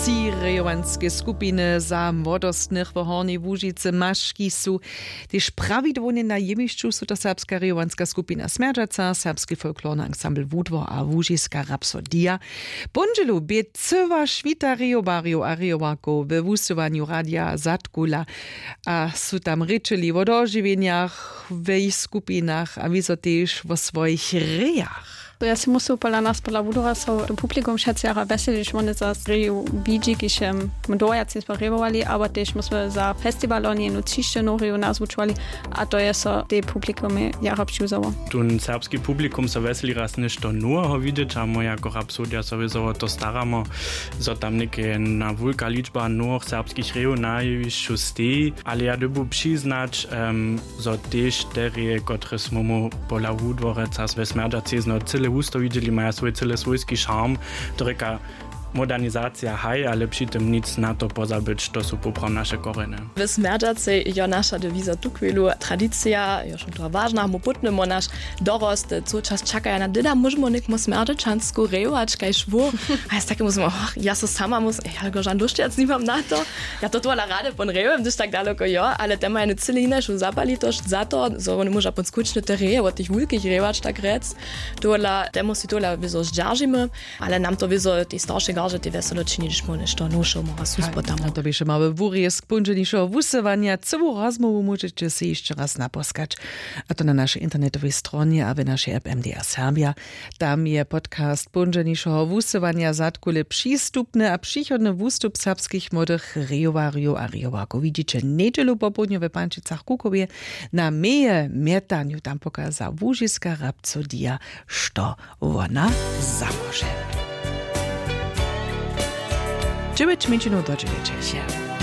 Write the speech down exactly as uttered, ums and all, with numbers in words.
Ti rejowanske skupiny za młodostnych w Hornjej Łužicy maški su tež prawidłownje na jěwišću. Su to serbska rejowanska skupina Smjerdźaca, serbski folklorny ansambl Wudwor a łužiska Rapsodija. Póndźelu bě cyła šwita rejowarjow a rejowarkow we wusyłanju radija zatkula a su tam rěčeli wo dožiwjenjach w jich skupinach a wězo tež wo swojich rejach. Ja si musel pola nas pola wudora so to publikum wšetcy jara wjeselić wone za reju widźi kiž my dojac nismo rejowali abo tež my smy za festiwal oni jenu třišćenu reju nas wučowali. A to je so te publikum jara přiwzało. Tón serbski publikum so wjeseli raz něšto noweho widźeć a my jako Rapsodija so wězo wo to staramo zo tam něke jedna wulka ličba nowych serbskich rejow na jewišću steji. Ale ja dyrbju přiznać zo tež te reje kotrež smy mu pola wudworeca we smjerdźacej zno cyle wusto widźeli maja swój cyle swójski šarm. To rěka modernizacija haj ale při tym nic na to pozabyć to su poprawom naše korjeny. W smjerdźacej jo naša dewiza tuchwilu tradicija jo šołtowa wažna mu pótnymo naš dorost co čas čakaja na dyda móžemo někmo smjerdźačansku rejować kaž wór. A ja z takim móžemo och ja so sama móžem ja go žan dóšćac nimam na to. Ja to tola rady pon rejujem hdyž tak daloko jo ale te maja jenu cyle hinašu zapalitosć za to zo wone móža pon skutčne te reje wot tych wulkich rejować tak rjec. Tola te móžu si tola wězo zdźeržimy. Ale nam to wězo tej staršej garže tej wjeselo čini hdyž móhł něšto nowšeho móhła suspotamo. To běše małe wurjezk póńdźelnišeho wusyłanja cyłu rozmołwu móžeće sej hišće raz naposkać a to na našej internetowej stronje a w našej app mdr serbja. Tam je podcast póńdźelnišeho wusyłanja zadkule přistupny a přichodny wustup serbskich młodych rejowarjow a rejowarkow widźiće njedźelu popołdnju we pančicach kukowje. Na meje mjetanju tam pokaza łužiska rabco dija što wona zamóže. Dźewjeć mjeńšinow do dźewjećeše.